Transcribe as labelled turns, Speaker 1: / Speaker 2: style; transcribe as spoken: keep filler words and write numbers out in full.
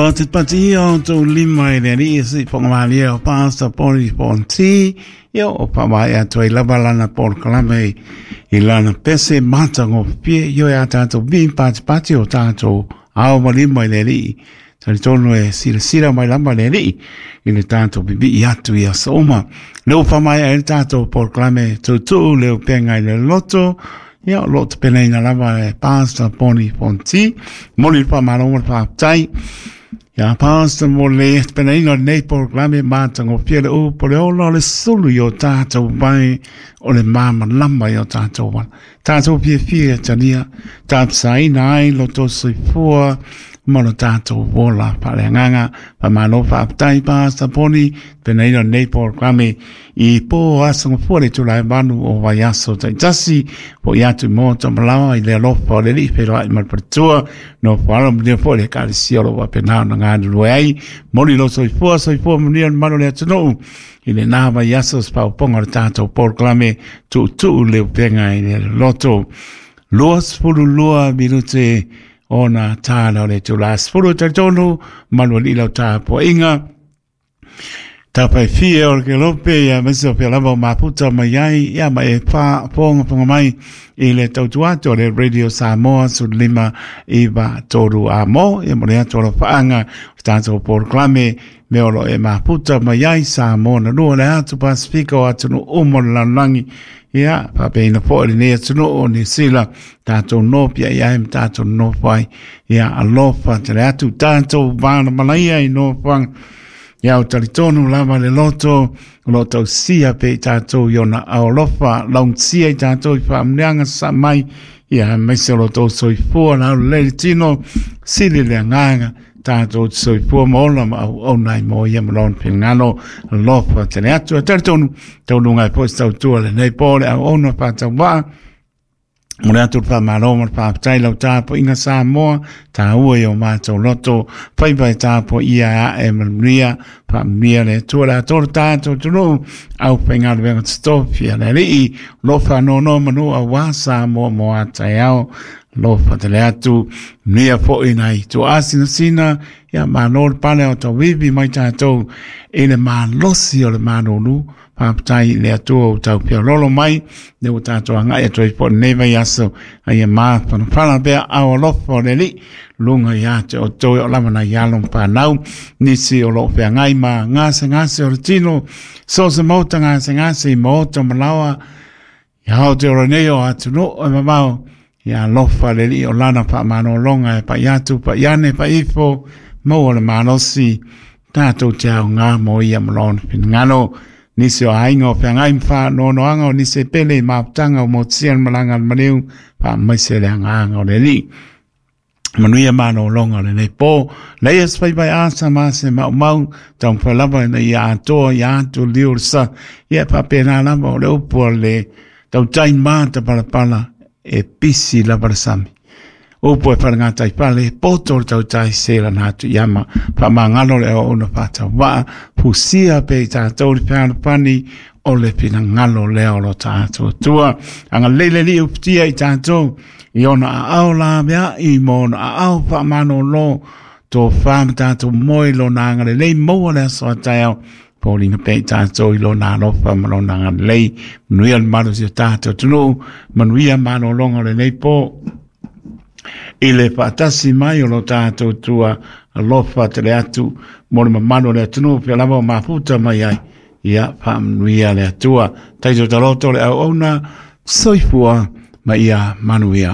Speaker 1: Te pati o tō lima i le rii si whangamalia o Pastor Poni Ponti. Ia o pawai atu ai lava lana polokalame i lana pese mata ngopie io e a tātou vi pati pati o tātou ao malima i le rii. Tari tonu e sira sira mai lama le rii i le tātou bibi i atu i aso uma. Leo pamai ai le tātou polokalame tautuu leo penga i le loto. Ia o lo te peneina lava e Pastor Poni Ponti. Moli pa malonga pa tai. Ia Pastor mo le peneina nei polokalame mata ngopie le u po le ola o le sulu i o tātou mai o le mama lama i o tātou wala. Tātou pie fia tania, tāpsaina ai lo tō soifua mo lo tātou wola pa le nganga pa malo pa aptai Pastor Poni peneina nei polokalame i pō aso ngopua le tūlai manu o vaiaso taitasi po i atu mo tamalawa i le alofa o le li whero ai malpatua no wharo mania po le kalisi o lo wapenao na ngā nulue ai moli lo soifua soifua manuia manu le atunuu i le nā vaiaso spauponga o le tātou polokalame tuutuu le upenga i le loto lua sefulu lua minute ona tāla o le tūlā sefulu talitonu manu ali lau tāpoainga Tapai fia o le ke lope ia mese o pia lava o maputa mai ai ia ma e pā ponga ponga mai i le tautuato o le Radio Samoa su lima iwa toru a mo ia mo le atu o lo paanga o tātou polokalame me olo e maputa mai ai Samoa na lua le atu Pasifika o atunu umo le lalolagi ia papeina po le nei atunu o Niu Sila tātou nopia ia e ma tātou nofo ai ia alofa te le atu tātou vāna malaia i nofoanga ia o talitonu lava le loto o lo tau sia pe i tātou i ona aolofa laungsia i tātou i whaamneanga sa mai ia maise o lo tau soifua na au le tino sili le anganga tātou te soifua ma ola ma au au nai mo ia ma lona pingano alofa te le atu a talitonu tau lunga e po i tautua le nei po le au ona pātau waa mo le atu le whamalo ma le whaapatai lau tāpo inga Samoa tā ua i o mātou loto whaipai tāpo ia a e manuia whaamia le tua le atoro tātou tunu au whaingaluenga tstofia le alii lo whanono manu a wā Samoa mo a tai ao lo whatele atu nia po i nei tu asina sina ia māno le pale o tau wiwi mai tātou i le mālosi o le mānonu whaapatai le atua o tau pia lolo mai le o tātou angai atu i po nei vai aso ai e mā panapana pea au alofa o le li lunga i ate o toi o lama na ialo mpanau nisi o lo pea ngai ma ngase ngase o le tino so se mauta ngase ngase i maota malawa i hao te ora nei o atu no e mamao ia alofa le li o lana pa manolonga e pa iatu pa iane pa ifo mau o le malosi tātou te au ngā mo ia malona pingano nisi o ainga o whangai mwha nonoanga o nisi pele i maputanga o motia malanga maniu pa maise le anganga o le li. Manuia manolonga o le nei pō. Leia spai pai asa mase mau mau tau mwhalava ina ia atoa ia atu liu sa ia papena lava o le upu o le tau tai māta palapala e pisi lava le sami. Upu e wharangatai pale, poto le tautai se la nā atu iama, pa mangalo le o una pata waa, pusia pe i tātou le peana pani, o le pinangalo leo lo tātou tua. Anga lele li uputia i tātou, i ona a au la mea, i mona a au pa mano lo, tō whāma tātou moi lo nā ngare lei maua le aso atai au, Paulina pe i tātou i lo nā lofa ma lo nā ngare lei, manuia le malo si o tātou tunu, manuia malo longa le nei pō, i le whaatasi mai o lo tātou tua alofa te le atu mo le mamano le atunu pia lava o maputa mai ai ia whaamanuia le atua taito taloto le au auna soifua ma ia manuia.